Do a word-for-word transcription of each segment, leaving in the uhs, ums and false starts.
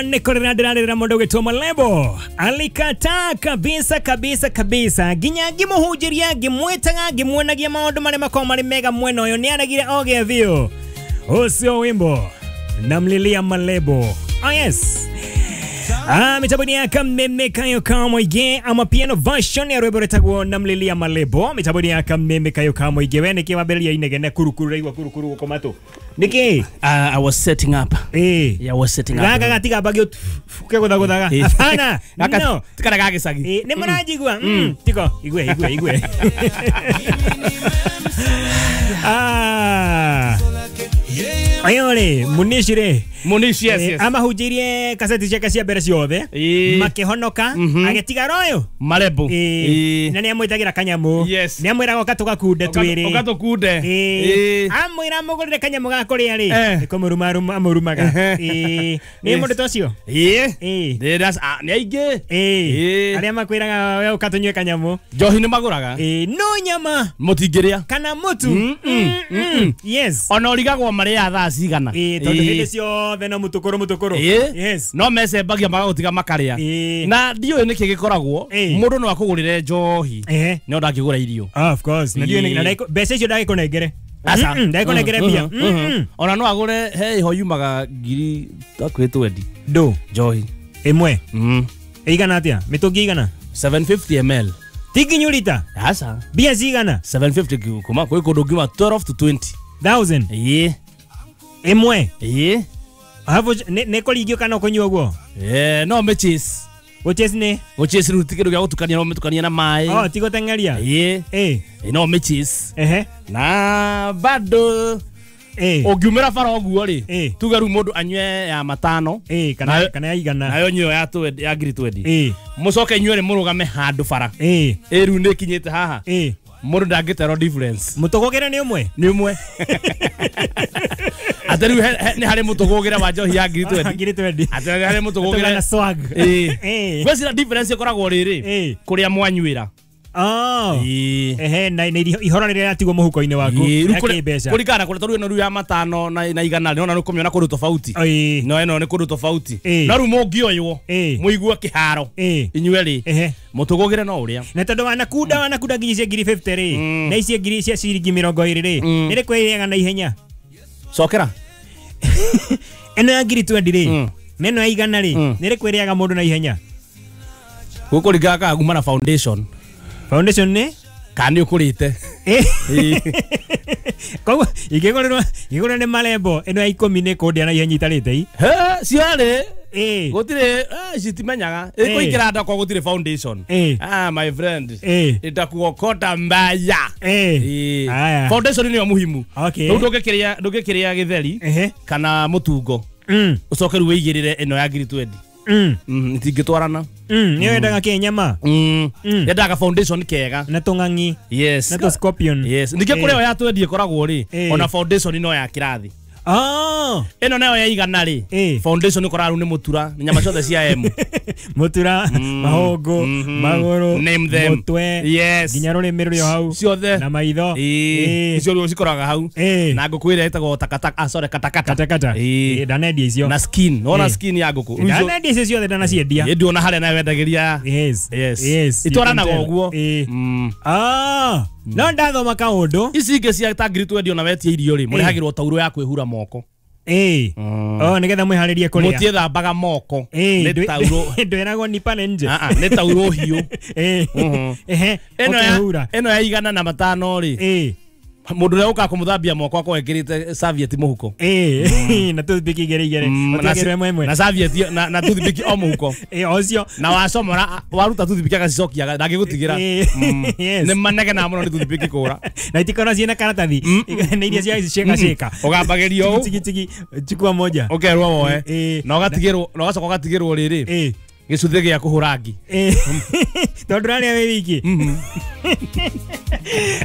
Nĩ kũrĩra ndĩrarĩrĩra mũndũ ũgĩtwo Malebo. Alikataa kabisa kabisa kabisa. Nginya ngĩmũhunjĩria, ngĩmwĩtaga, ngĩmuonagia maũndũ marĩa makoragwo marĩ mega mwena ũyũ, nĩ aregire oge biũ. Ũcio wimbo namlilia Malebo. Oh yes. Ah, mitambo ya Kameme Kayo Kamoige ama piano version ya rwĩmbo rwĩtagwo namlilia Malebo. Mitambo ya Kameme Kayo Kamoige. We nĩkĩ wambĩrĩria inegene kurukuru raigua kurukuru gũkũ matũ? Nĩkĩ? Uh, I was setting up. Eh. Yeah, I was setting up. Gaka gatigambagio kegũthagũthaga. Hapana. No. Tikara gagĩcagi. Eh, nĩ mũranjigua? Mm. Tiko, igue igue igue. Ah. Ayore, Munishi rĩ. Munishi, yes, yes. Amahunjĩirie kaseti ciake cia mbere ciothe makĩhonoka, agĩtigara ũyũ Malebo. Na nĩ amwĩtagĩra kanyamũ. Yes. Nĩ amwĩraga ũka tũgakunde twĩrĩ. Ũka tũkunde. Amwĩra amũgũrĩre kanyamũ ga kũrĩa rĩ, nĩ kũmũruma amũrumaga. Nĩ mũndũ ta ũcio? Ĩĩ. Nĩ aingĩ. Arĩa makwĩraga we ũka tũnyue kanyamũ. Njohi nĩ magũraga. No nyama. Mũtingĩrĩa. Kana mũtu. Yes. Ona ũrigagwo marĩaga thaa cigana. Tondũ hĩndĩ ciothe no mutukuru mutukuru. Yes. No mecembagia magagũtiga makarĩa. Na ndiũĩ nĩkĩ gĩkoragwo mũndũ no akũgũrĩre njohi no ndangĩgũra irio. Of course. Na ndiũĩ na mbeca icio ndagĩkũnengere. Aca. Ndagĩkũnengere mbia. Ona no agũre he iho yumaga ngiri hakuhĩ twendi. Ndũ. Njohi. Ĩmwe. Ĩigana atĩa? Mĩtũngi igana? seven fifty ml. Ti nginyu rita? Aca. Mbia cigana? seven fifty kuma kwĩ kũndũ ngiuma twelve to twenty thousand. Ĩĩ. Ĩmwe. Ĩĩ. Hapo nĩ kũringio kana ũkũnyua ũguo? Eh, no mĩchase. Gũchase nĩ? Gũchase rĩu ti kĩndũ gĩa gũtukania, no mĩtukanie na maĩ. Oh, ti gũteng'eria? Ĩĩ. Ĩĩ. No mĩchase. Ehe. Na bado Ĩĩ. Ũngiumĩra bara ũguo rĩ, Ĩĩ. tuge rĩu mũndũ anyue ya matano. Ĩĩ, kana kana ya igana. Nayo nyuo ya twendi, ya ngiri twendi. Ĩĩ. Mũcoke inyuĩ rĩ mũrũgame handũ bara. Ĩĩ. Ĩĩ rĩu nĩ ĩkinyĩte haha. Ĩĩ. Mũndũ ndangĩterwo difference. Mũtũgũgĩre nĩ ũmwe? Nĩ ũmwe. Atĩ rĩu nĩ harĩ mũtũgũgĩre wa njohi ya ngiri twendi. Ngiri twendi. Atĩ nĩ harĩ mũtũgũgĩre na swag. Ĩĩ. Ĩĩ. Gwĩciria difference ĩkoragwo rĩrĩ Ĩĩ. kũrĩa mwanyuĩra. Oh. Ĩĩ. Ehe, na ihoro rĩrĩa rĩatigwo mũhuko-inĩ waku. Ĩĩ, Ya kĩmbeca. Kũringana na kũrĩa tondũ ĩno rĩu ya matano na na igana rĩ, nona nĩ ũkũmĩona kũndũ tofauti. Ĩĩ. No ĩno nĩ kũndũ tofauti. Ĩĩ. No rĩu mũngĩoywo Ĩĩ. mũigue kĩharo Ĩĩ. inyuĩ rĩ Ehe. mũtũgũgĩre no ũrĩa. Na tondũ wanakunda wanakunda nginya cia ngiri fifty rĩ, na ici ngiri cia ciringi mĩrongo ĩrĩ rĩ, Mm. nĩ rĩkũ ĩrĩaga na ihenya? Cokera. Ĩno ya ngiri twendi rĩ, Mm. na ĩno ya igana rĩ, Mm. nĩ rĩkũ ĩrĩaga mũndũ na ihenya? Gũkũringana kana kuma na foundation. Foundation nĩ? Kana nĩ ũkũrĩte. Koguo ingĩgũrĩrwo ingĩgũrĩrwo nĩ Malebo ĩno ya ikũmi nĩ kũndĩa na ihenya itarĩte i. He, ciarĩ. Ĩĩ. Gũtirĩ, eh, citimenyaga. Ĩĩ. Ĩkũingĩra nda kwa gũtirĩ foundation. Ĩĩ. Ah, my friend. Ĩĩ. Itakuokota mbaya. Ĩĩ. Ĩĩ. Aya. Foundation nĩyo muhimu. Okay. Rĩu ndũngĩkĩrĩa ndũngĩkĩrĩa gĩtheri Ehe. kana mũtungo. Mm. Ũcoke rĩu wĩigĩrĩre ĩno ya ngiri twendi. Mm. Mm, itingĩtwarana. Mm, nĩ wendaga kĩ nyama? Mm. Mm. Yendaga foundation kega. Na tũng'ang'i. Yes. Na tũ scorpion. Yes. Ningĩ Ĩĩ. kũrĩa ĩyo ya twendi ĩkoragwo rĩ, Ĩĩ. ona foundation no ya kĩrathi. Oh. Ĩno nayo ya igana rĩ, Ĩĩ. foundation ĩkoragwo rĩu nĩ mũtura, nĩ nyama ciothe cia M. Mũtura, mahũngũ, Mhm. magũrũ, Name them. mũtwe, Yes. nginya rũrĩmĩ rũrĩ o hau. Ciothe. Na maitho. Ĩĩ. Ĩĩ. Icio rĩu cikoraga hau. Ĩĩ. Na ngũkũ ĩrĩa ĩtagwo takataka, ah sorry, katakata. Katakata. Ĩĩ. Ĩĩ, ndanendia icio. Na skin, wona Ĩĩ. skin ya ngũkũ. Rĩu icio- Ndanendia icio ciothe ndanaciendia. Ĩĩ, ndĩona harĩa nayo wendagĩria. Yes. Yes. Yes. Itwaranaga You can tell. ũguo. Ĩĩ. Mm. Ah. No ndathoma kaũndũ. Ici ingĩ cia ta ngiri twendi ona wetia irio rĩ, mũrehagĩrwo taurũ ya kwĩhura moko. Ĩĩ. Oh, nĩgetha mwĩharĩrie kũrĩa. Mũtiĩthambaga moko. Ĩĩ, Nĩ taurũ. ndwĩragwo nipa nĩ nje. Ah, ah, nĩ taurũ hiũ. Ĩĩ. Mhm. Ehe. Ĩno ya Ũkehura. ĩno ya igana na matano rĩ, Ĩĩ. mũndũ ũrĩa ũkaga kũmũthambia moko akorwo ekĩrĩte serviette mũhuko. Ĩĩ. Na toothpick igĩrĩ igĩrĩ. Mm, na Ũtiagĩrwo ĩmwe ĩmwe. na serviette na na toothpick o mũhuko. Ĩĩ, o ũcio. Na wacomora waruta toothpick agacicokia ndangĩgũtigĩra. Ĩĩ. Mm. Yes. Nĩ manegenaga mũno nĩ toothpick kũra. Na itikorwo ciĩna karatathi. Nĩ iria cia ciĩka ciĩka. Ũgambagĩrio ũũ. Tigi tigi chukua moja. Ũkerwo woe. Ĩĩ. Na ũgatigĩrwo na ũgacoka ũgatigĩrwo rĩrĩ. Ĩĩ. Gĩcuthĩ gĩa kũhũra ngi. Ĩĩ. Tondũ ũrarĩa wĩ wiki.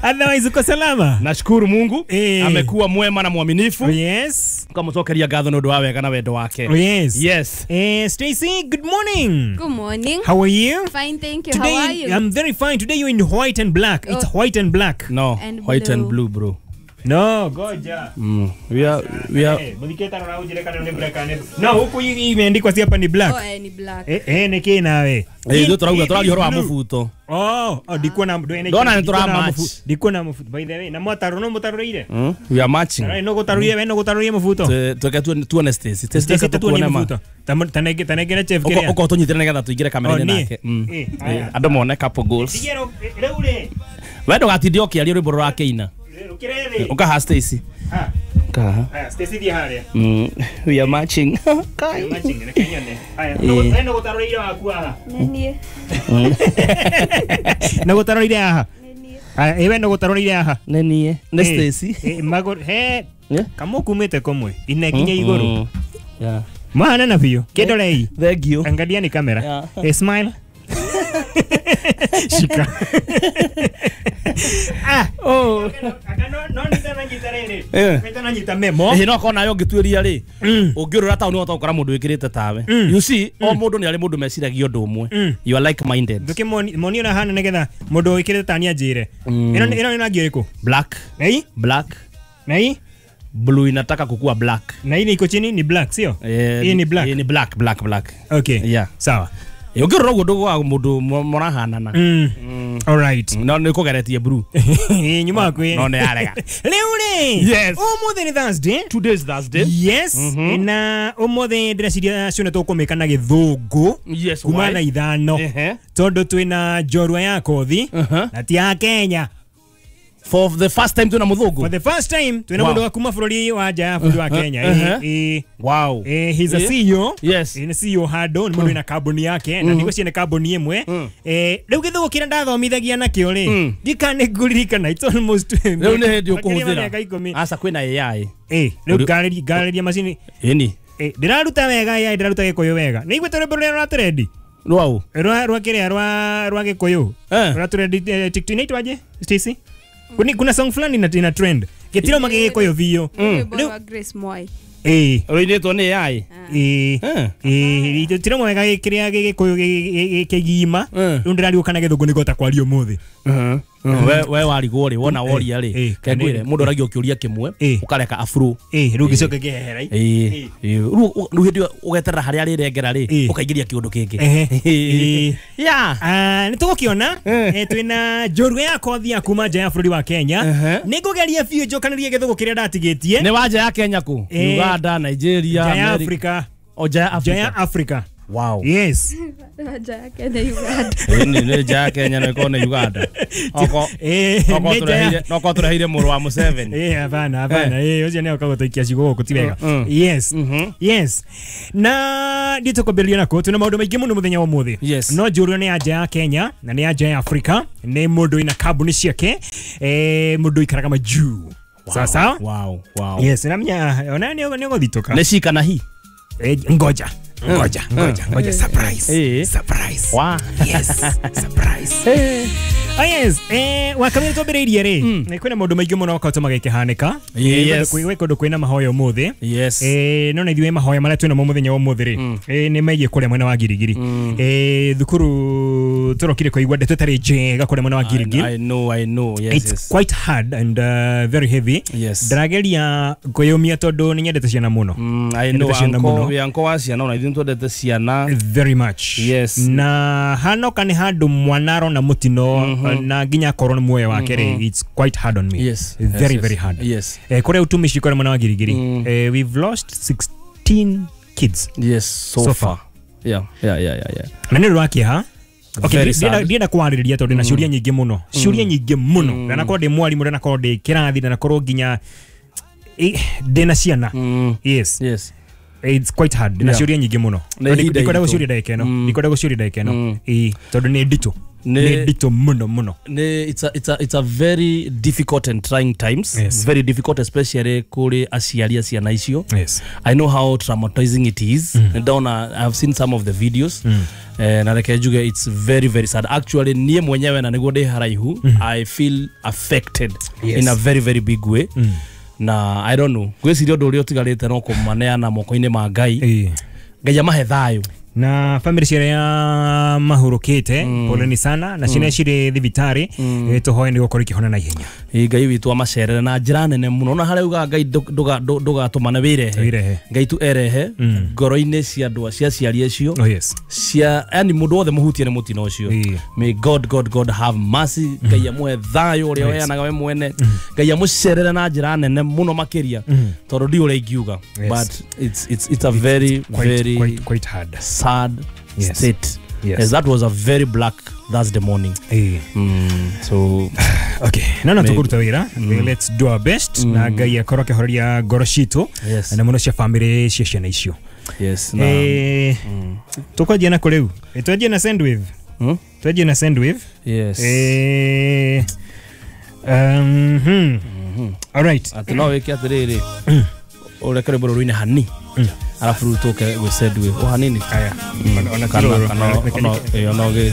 Otherwise uko salama. Nashukuru Mungu. Ĩĩ. Amekuwa mwema na mwaminifu. Yes. Tukamũcokeria ngatho nĩ ũndũ wa wega na wendo wake. Yes. Yes. Eh, Stacy, good morning. Good morning. How are you? Fine, thank you. Today, How are you? I'm very fine. Today you're in white and black. It's Oh. white and black. No, And white and blue. blue, bro. No, goja. Mm. We are we are eh, muthiketa na ujire kana ni black kana. No, huku hii imeandikwa si hapa ni black. Oh, eh, ni black. Eh, eh niki nawe. Eh, ndio turauga turaria horo wa mubuto. Oh, oh ndikuona ndona ni tura match. Ndikuona mubuto. By the way, na mwataro no mutaroreire. Mm. We are matching. Na no gutarurie we no gutarurie mubuto. Tweke tuone Stacy. Stacy tuone ma. Tanege tanege chef kiria. Uko tunyitire nigetha tuingire kamera-inĩ nake. Mm. Andũ mone couple goals. Tigero rĩu rĩ. We ndũgatinde ũkĩaria rwĩmbo rũrakĩina. Ukaha Stacy. Ha. Ukaha. Haya, Stacy thiĩ harĩa. Mm. We are matching. Kai. We are matching, reke nyone. Haya, no no gutaroreire waku haha. Nĩ niĩ. No gutaroreire haha. Nĩ niĩ. Haya, ĩwe no gutaroreire haha. Nĩ niĩ. Nĩ Stacy. Eh, magor he. Kamukumĩte komwe. Ine kinya igũrũ. Yeah. Maana na biũ. Kĩndorei. Thank you. Angalia ni kamera. Eh, smile. Shika. Ah, oh. Aka no no nita nyita rĩrĩ. Nita nyita memo. Eh, no kona yo ngĩtuĩria rĩ. Ũngĩũrũra taũni wahota gũkora mũndũ wĩkĩrĩte tawe. You see, o mũndũ nĩ arĩ mũndũ meciragia ũndũ ũmwe. You are like minded. Ndũkĩ moni ona hana nĩgetha mũndũ wĩkĩrĩte tani anjĩre. Ĩno ĩno nĩ rangi ũrĩkũ? Black. Nei? Black. Nei? Blue inataka kukua black. Na hii iko chini ni black, sio? Hii ni black. Hii ni black, black, black. Okay. Yeah. Sawa. Ũngĩrora ũguo ndũgũaga mũndũ mũrahanana. Mm. All right. No nĩ kũgeretie blue. Nyuma kwĩ. No nĩ yarega. Rĩu rĩ. Yes. Ũmũthĩ nĩ Thursday. Today is Thursday. Yes. Na ũmũthĩ ndĩreciria cione tũkũmĩka na gĩthũngũ. Yes. Kuma thaa ithano. Tondũ twĩna njorua ya kothi na ti ya Kenya. For the first time twina muthungu. For the first time twina mundu wa kuma bururi wa nja ya bururi wa Kenya. Uh-huh. Eh, wow. Eh, he's a C E O. Yes. Ni C E O hando ni mundu ina kambuni yake na ndigweciria ni kambuni imwe. Eh, riu githugu kiria ndathomithagia nakio ri. Ndikane nguririkana it's almost riu ni hindi ukuhuthira. Aca kwina A I. Eh, riu ngariria ngariria macini. Eni. Eh, ndiraruta wega A I ndiraruta gikuyu wega. Ni igwete rwimbo ruria rwa trendi. Rwau. Rwa rwa kiria rwa rwa gikuyu. Rwa trendi TikTok inaitwaje? Stacy? Kuna kuna song fulani ina ina trend. Gitiro magigikuyu biũ. Rwĩmbo rwa Grace Mwai. Eh, ruinĩtwo nĩ A I. Eh. Eh, gitiro mwega kiria gikuyu kigima. Rĩu ndĩrariũka na gĩthũngũ nĩngũhota kwaria ũmũthĩ. We we warigwo rĩ wona woria rĩ kengwire mũndũ oragia kĩũria kĩmwe ũkareka afro. Eh, rĩu gĩcoke kĩehera. Eh, rĩu rĩu hĩndĩ ũgeterera harĩa rĩrengera rĩ ũkaingĩria kĩũndũ kĩngĩ. Eh. Yeah. Ah, nĩ tũgũkĩona twĩna njorua ya kothi ya kuma nja ya bũrũri wa Kenya. Nĩ ngũgeria biũ njokanĩrie gĩthũngũ kĩrĩa ndatigĩtie. Nĩ wa nja ya Kenya kũ? Uganda, Nigeria, nja ya Africa. O nja ya Africa. Nja ya Africa. Wow. Yes. Nja ya Kenya Uganda. Ni ni nja ya Kenya na iko na Uganda. Oko oko tureheire no ko tureheire mũrũ wa Museveni. Eh, hapana hapana. Eh, ucio nĩ ũkagũtaikia ciugo gũkũ ti wega. Yes. Yes. Na nditũkwambĩrĩria nako twĩna maũndũ maingĩ mũno mũthenya wa ũmũthĩ. Yes. No njũrwo nĩ nja ya Kenya na nĩ nja ya Africa, nĩ mũndũ ina kambuni ciake, eh mũndũ ikaraga majuu. Sawa sawa? Wow, wow. Yes, na menya ona nĩ nĩ gũthitũka. Nĩ cika na hi. Eh, ngoja. Ngoja, ngoja, ngoja, surprise. Surprise. Wow. Yes, surprise. Ah yes, eh wakamire twambĩrĩirie rĩ, nĩ kwĩna maũndũ maingĩ mũno makoretwo magĩkĩhanĩka. Yes. Kwĩ kũndũ kwĩna mahoya ũmũthĩ. Yes. Eh no na ithuĩ mahoya marĩa twĩnamo mũthenya wa ũmũthĩ rĩ, eh nĩ megiĩ kũrĩa mwena wa Girigiri. Eh thukuru tũrokire kũigua ndeto ĩtarĩ njega kũrĩa mwena wa Girigiri. I know, I know. Yes, It's yes. quite hard and uh, very heavy. Yes. Ndĩrageria kwĩyũmia tondũ nĩ nyendete ciana mũno. Mm, I know anko, we anko wa ciana ona ithuĩ twendete ciana very much. Yes. Na hanoka nĩ handũ mwana arona mũtino na nginya akorwo nĩ muoyo wake rĩ, it's quite hard on me. Yes. Very yes, very hard. Yes. Eh kũrĩa utumishi kũrĩa mwena wa Girigiri. Eh, we've lost sixteen kids. Yes, so, so far. far. Yeah, yeah, yeah, yeah, yeah. Na nĩ ũndũ wa kĩeha. Okay, ndienda kwarĩrĩria tondũ ndĩna ciũria nyingĩ mũno. Ciũria nyingĩ mũno. Ndanakorwo ndĩ mwarimũ, ndanakorwo ndĩ kĩrathi, ndanakorwo nginya ndĩna ciana. Yes. Yes. It's quite hard. Ndĩna ciũria nyingĩ mũno. Ndikwenda gũciũria ndagĩka ĩno. Ndikwenda gũciũria ndagĩka ĩno. Ĩĩ, tondũ nĩ nditũ. Nĩ nditũ mũno mũno. Nĩ it's a, it's a, it's a very difficult and trying times. Yes. Very difficult especially kũrĩ aciari a ciana icio. Yes. I know how traumatizing it is. Mm. Ndona I've seen some of the videos. Mm. Eh, na reke njuge it's very very sad. Actually niĩ mwenyewe na nĩguo ndĩ haraihu, mm. I feel affected yes. in a very very big way. Mm. Na I don't know. Gwĩciria ũndũ ũrĩa ũtigarĩte no kũmaneana moko-inĩ ma Ngai. Eh. Ngai amahe thayũ. Na family ciarĩa mahurũkĩte, poleni sana, na ciana cirĩ thibitarĩ, eh, tũhoe nĩ gũkorwo ikĩhona na ihenya. Ĩ, Ngai witũ amacerere na njĩra nene mũno, na harĩa ugaga Ngai ndũ- ndũga- ndũ- ndũgatũmane wĩrehe. Wĩrehe. Ngai tu erehe ngoro-inĩ cia andũ cia aciari acio, Oh yes. Cia yani mũndũ wothe mũhutie nĩ mũtino ũcio. Ĩĩ. May god god god have mercy. Ngai amũhe thayũ ũrĩa ũheanaga we mwene. Ngai amũcerere na njĩra nene mũno makĩria, tondũ ndi ũrĩa ingiuga. Yes. But it's, it's, it's a very Quite, very quite, quite hard. Sad Yes. state. Yes. Yes, that was a very black Thursday morning. Ĩĩ. mm, so Okay, no no Maybe. Tũkũruta wĩra. Let's do our best na Ngai akorwo akĩhoreria ngoro citũ Yes. na mũno cia family cia ciana icio. Yes, na Eh, tũkwanjia na kũ rĩu? Eh, twanjie na Sendwave. Hmm? Twanjie na Sendwave. Yes. Eh, um, hmm. All right. Atĩ no wĩke atĩrĩrĩ, ũreke rwĩmbo rũrũ rũine hani, arabu rĩu tũke gwĩ Sendwave o hanini. Aya. Ona- ona Kana ti rũrũ. kana Reke- ona ĩĩ, ona ũgĩ